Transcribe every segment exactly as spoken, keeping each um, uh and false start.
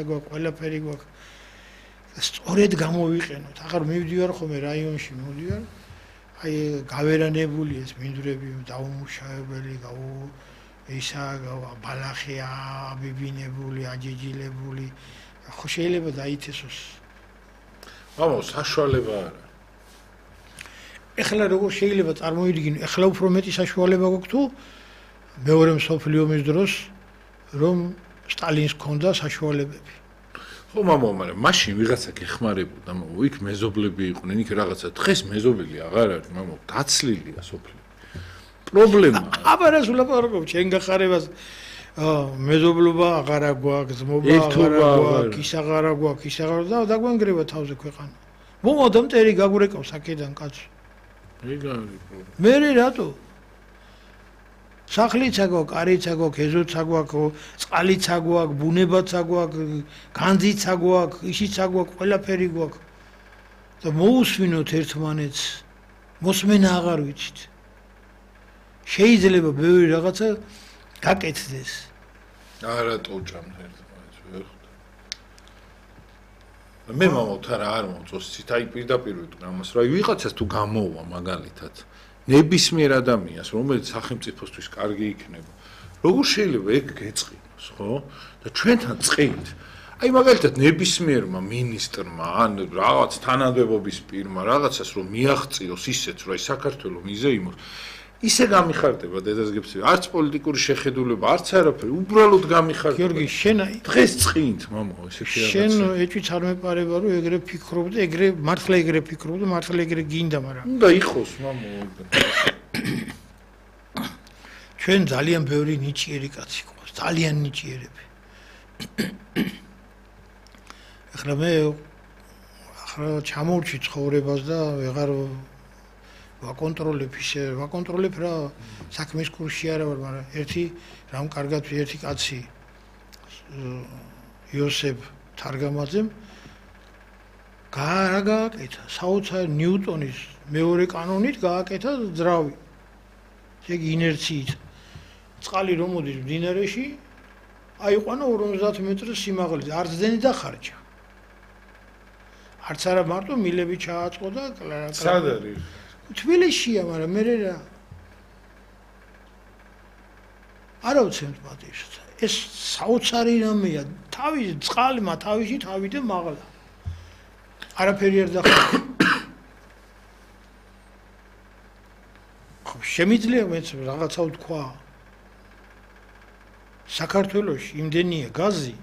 გვაქვს, ყველაფერი გვაქვს. სწორედ გამოვიყენოთ. აღარ მივდივარ ხოლმე რაიონში, მივდივარ. აი გავერანებული ეს მინდვრები, დაუმუშავებელი, გაუ ისა ბალახია, აბიბინებული, აჯეჯილებული. ხო შეიძლება დაიცესოს. მამო, საშუალება არა. ეხლა როგორ შეიძლება წარმოიდგინო, ეხლა უფრო მეტი საშუალება გვაქვს თუ მეორე მსოფლიო ომის დროს რომ სტალინს ჰქონდა საშუალებები. ხო მამო, მაგრამ მაშინ ვიღაცა გეხმარებოდა, მამო, იქ მეზობლები იყვნენ, იქ რაღაცა დღეს მეზობელი აღარ არის, მამო, დაცლილია სოფლი. პრობლემა. აბა რას ვლაპარაკობ, ჩემ გახარებას მეზობლობა აღარ აგვაქვს, ძმობა აღარ აგვაქვს, ის აღარ აგვაქვს, ის აღარ და დაგვანგრევა თავზე ქვეყანა. მომოდა მტერი გაგვრეკავს აქედან კაცო. ეგ არის პრობლემა. მე რატო? სახლიც აგვაქვს, კარიც აგვაქვს, ეზოც აგვაქვს, წყალიც აგვაქვს, ბუნებაც აგვაქვს, განძიც აგვაქვს, ისიც აგვაქვს, ყველაფერი გვაქვს. და მოусვინოთ ერთმანეთს. მოსმენა აღარ ვიცით. შეიძლება ბევრი რაღაცა გაკეთდეს. არა ტოჭამთ ერთმანეთს, ვერ ხვდა. მე მამოთ არა არ მოწოსით, აი პირდაპირ ვიტყვი ამას, რა ვიღაცას თუ გამოვა მაგალითად. ნებისმიერ ადამიანს, რომელიც სახელმწიფოსთვის კარგი იქნება, როგორ შეიძლება ეგ გეწყინოს, ხო? და ჩვენთან წყით. აი მაგალითად ნებისმიერმა მინისტრმა ან რაღაც თანამდებობის პირმა რაღაცას რომ მიაღწიოს ისეც, რომ აი საქართველოს მიზეიმოს, ისე გამიხარდება დედასგებსი, არც პოლიტიკური შეხედულება, არც არაფერი, უბრალოდ გამიხარდება. გიორგი, შენ აი დღეს წყით, მამო, ესეთი რაღაცა. შენ ეჭვიც არ მეპარება, რომ ეგრე ფიქრობ და ეგრე მართლა ეგრე ფიქრობ და მართლა ეგრე გინდა, მაგრამ უნდა იყოს, მამო. ჩვენ ძალიან ბევრი ნიჭიერი კაცი ყავს, ძალიან ნიჭიერები. ახლა მე ახლა ჩამოვჭი ცხოვრებას და ვეღარ ვაკონტროლებ ისე, ვაკონტროლებ რა საქმის კურსში არა ვარ, მაგრამ ერთი რამ კარგად ერთი კაცი იოსებ თარგამაძემ რა გააკეთა, საოცარ ნიუტონის მეორე კანონით გააკეთა ძრავი. ეგ ინერციით. წყალი რომ მოდის მდინარეში, აიყვანა ორმოცდაათ მეტრს სიმაღლეზე, არც დენი დახარჯა. არც არა მარტო მილები ჩააწყო და სად არის? თბილისშია, მაგრამ მე რა არა უცემთ პატივს. ეს საოცარი რამეა, თავის წყალმა თავისი თავიდან მაღლა. არაფერი არ დახარჯა. ხო, შემიძლია მეც რაღაცა ვთქვა. საქართველოში იმდენია გაზი,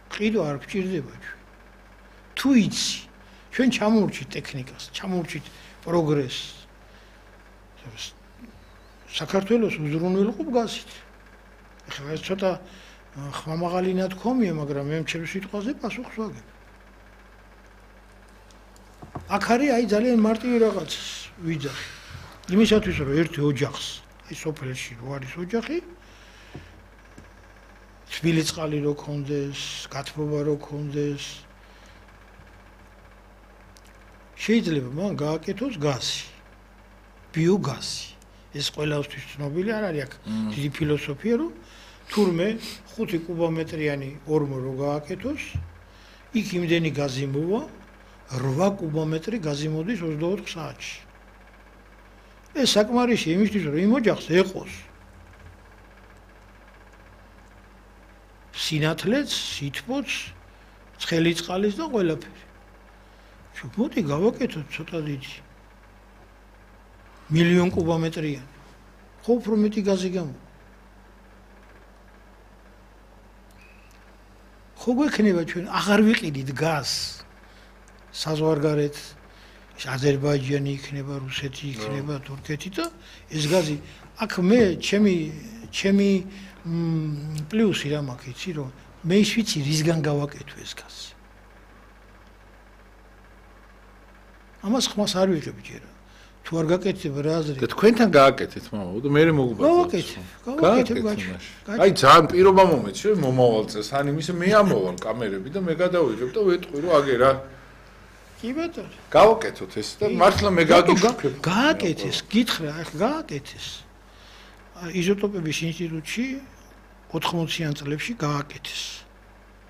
ყიდვა არ გჭირდება ჩვენ. თუ იცი, ჩვენ ჩამოვრჩით ტექნიკას, ჩამოვრჩით პროგრესს. საქართველოს უზრუნველყოფ გაზით. ეხლა ეს ცოტა ხმამაღალი ნათქვამია, მაგრამ მე ჩემს სიტყვაზე პასუხს ვაგებ. აქ არის აი ძალიან მარტივი რაღაც ვიძახი. იმისათვის რომ ერთი ოჯახს, აი სოფელში რო არის ოჯახი, თბილი წყალი რო ქონდეს, გათბობა რო ქონდეს, შეიძლება მან გააკეთოს გაზი, ბიოგაზი. ეს ყველასთვის ცნობილი არ არის აქ დიდი ფილოსოფია, რომ თურმე ხუთი კუბომეტრიანი ორმო რო გააკეთოს, იქ იმდენი გაზი მოვა, რვა კუბომეტრი გაზი მოდის ოცდაოთხ საათში. ეს საკმარისია იმისთვის, რომ იმ ოჯახს ეყოს სინათლეც, სითბოც, ცხელი წყალის და ყველაფერი. მოდი გავაკეთოთ ცოტა დიდი. მილიონ კუბომეტრიანი. ხო უფრო მეტი გაზი გამო. ხო გვექნება ჩვენ აღარ ვიყიდით გაზს. საზღვარგარეთ აზერბაიჯანი იქნება, რუსეთი იქნება, თურქეთი და ეს გაზი აქ მე ჩემი ჩემი პლუსი რა მაქვს იცი რომ მე ის ვიცი რისგან გავაკეთო ეს გაზი. ამას ხმას არ ვიღებ ჯერა. თუ არ გაკეთებ რა აზრი? და თქვენთან გააკეთეთ, მამო, და მე მოგუბაძავ. გავაკეთებ, გავაკეთებ ბაჭო. აი ძალიან პირობა მომეცი, რომ მომავალ წელს, ან იმის მე ამოვალ კამერები და მე გადავიღებ და ვეტყვი რომ აგერა. კი ბატონო. გავაკეთოთ ეს და მართლა მე გაგიშუქებ. გააკეთეს, გითხრა, ახლა გააკეთეს. იზოტოპების ინსტიტუტში ოთხმოციან წლებში გააკეთეს.